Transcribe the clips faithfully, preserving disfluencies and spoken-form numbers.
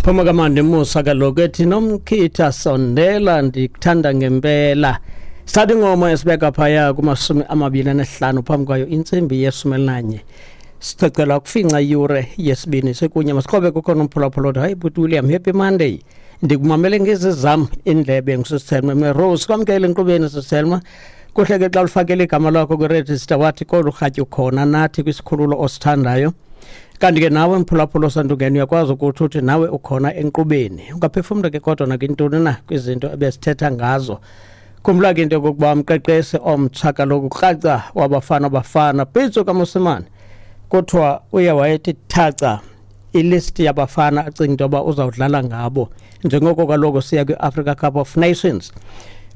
Phuma kamandi Musa kaloku ethi nomkhitha sondela ndikuthanda ngempela. Sithatha ingoma esibeka phaya kumashumi amabini anesihlanu phambi kwayo intsimbi yeshumi elinanye. Sicela ukufinca iyure yesibini sekunye masiqobe kukhona umphulaphula othi hayi bhuti William, happy Monday. Ndikumamele ngezi zam indlebe nguSiselma Merose. Kwamkele enkqubeni Siselma. Kuhle ke xa ulifakele igama lakho kwiregister wathi kolu rhatya ukhona nathi kwisikhululo osithandayo. Kanti ke nawe mphulaphula osandungena uyakwazi ukuthi uthi nawe ukhona enkqubeni. Ungaphefumla ke kodwa nakwintoni na kwizinto ebesithetha ngazo. Khumbula ke into yokokuba umqeqeshi omtsha kaloku kraca wabafana bafana Pitso kaMosimane kuthiwa uye wayethi thaca ilisti yabafana acinga into yoba uzawudlala ngabo njengoko kaloku siya kwi-Africa Cup of Nations.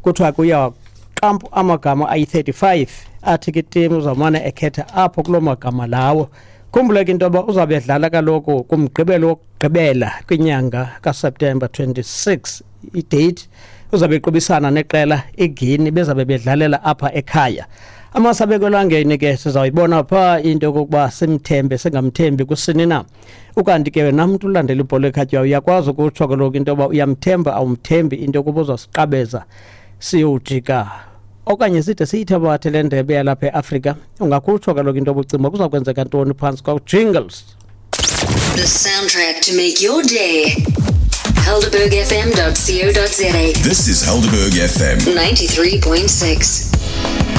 Kuthiwa ke uye waqampu amagama ayi-thirty-five athi ke itimu uzawumane ekhetha apho kuloo magama lawo. Khumbula ke into yoba uzawube edlala kaloku kumgqibelo wokugqibela kwinyanga kaSeptemba twenty-six idate uzabe equbisana neqela iGuinea bezabe bedlalela apha ekhaya. Amasabeko elangeni ke sizawuyibona phaa into yokokuba simthembe singamthembi kusini na. Ukanti ke wena mntu ulandela ibhola ekhatywayo uyakwazi ukutsho kaloku into yoba uyamthemba awumthembi into yokuba uzawusiqabeza siyowujika okanye side siyithabathe le ndebe yalapha eAfrika. Ungakutsho kaloku into yoba ucinga uba kuza kwenzeka ntoni phantsi kwaJingles. The soundtrack to make your day. Helderberg F M dot co dot za. This is Helderberg F M ninety-three point six.